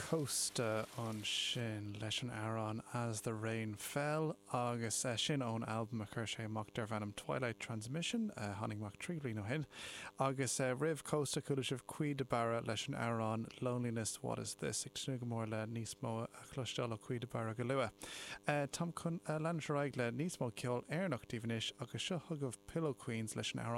Cósta ansin leis an amhrán As the Rain Fell agus sin ón albam a chuir sé amach darbh ainm Twilight Transmission a tháinig amach 3 bliain ó shin. Agus roimh Cósta chuala sibh Caoi de Barra leis an amhrán Loneliness What Is This. Ag tnúth go mór le níos mó a chloisteáil ó Caoi de Barra go luath. Táim chun leanúint ar aghaidh le níos mó ceol Éireannach daoibh anois agus seo chugaibh Pillow Queens leis an amhrán.